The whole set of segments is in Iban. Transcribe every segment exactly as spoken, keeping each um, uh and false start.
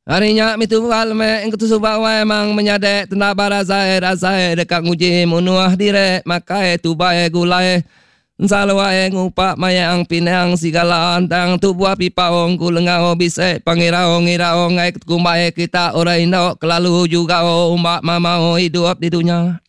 Ari nya mih tubuh leme engketu suba wai mang menyade tenda barazai razai deka nguji munuh dire makai tubai gulai ensaluai ngupa mayang pinang sigala antang tubuh pipaung ku lengau bise pangirau ngirau ngai kumbai kita orang indu kelalu juga umbak mamau hidup di dunya.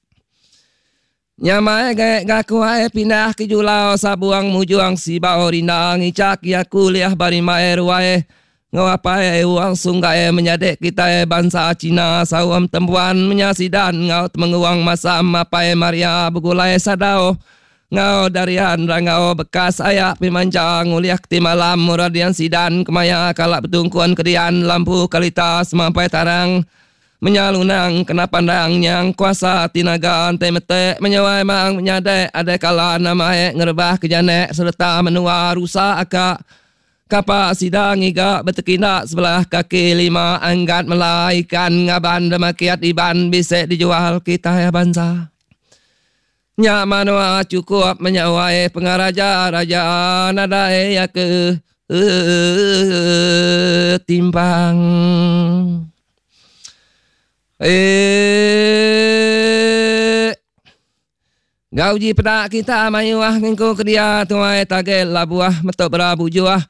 Nyamai gai gaku ai pindah ke julau sabuang mujuang sibau rindang ngicak ya kuliah barimai ruai. Ngau apai uang sunggai menyadik kita bangsa Cina sawam tembuan menyasidan ngau temenguang masam apai Maria begulai sadau ngau darian rangau bekas ayak pimanja nguliah keti malam muradian sidan kemaya kalak betungkuan kedian lampu kalita semampai tarang menyalunang kena pandang nyang kuasa tinaga ante metek menyawai mang menyadek ada kala nama ngerebah kejanek serta menua rusak akak Kapak sidang iga bertekindak sebelah kaki lima anggat melaikan ngaban demakiat iban bisa dijual kita ya bangsa. Nyak manua cukup menyawai pengaraja raja nadai ya ke eh, timpang. Eh Gauji pedak kita mayuah ngengku ke dia tuai tagel labuah metok berabujuah.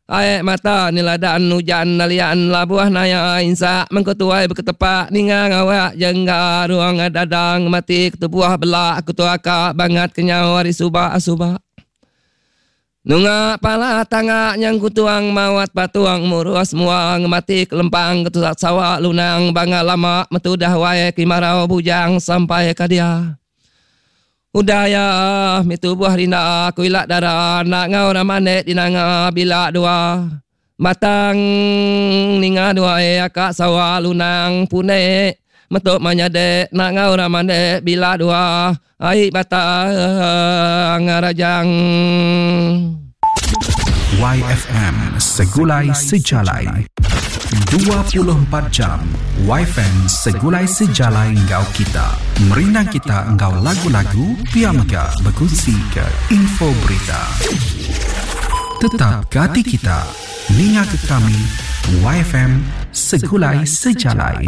Aek mata niladan hujan nalian labuah naya insa mengkutuai berketepak ninga ngawak jengga ruang dadang mati ketubuah belak kutuaka bangat kenyau hari suba suba. Nunga pala tangga nyang kutuang mawat patuang murus muang mati kelempang ketusak sawak lunang bangga lama metudah wae kimarau bujang sampai ke dia. Udah ya, mi tubuh rina aku ilak darah nak ngau ramane dinanga bila dua. Batang ninga dua e akak sawah lunang pune metuk manyade nak ngau ramane bila dua. Ai batang rajang. Y F M Segulai Sejalai dua puluh empat jam Y F M Segulai Sejalai engkau kita. Merindang kita engkau lagu-lagu pia mega berkongsi ke info berita. Tetap gati kita. Ninga ke kami Y F M Segulai Sejalai.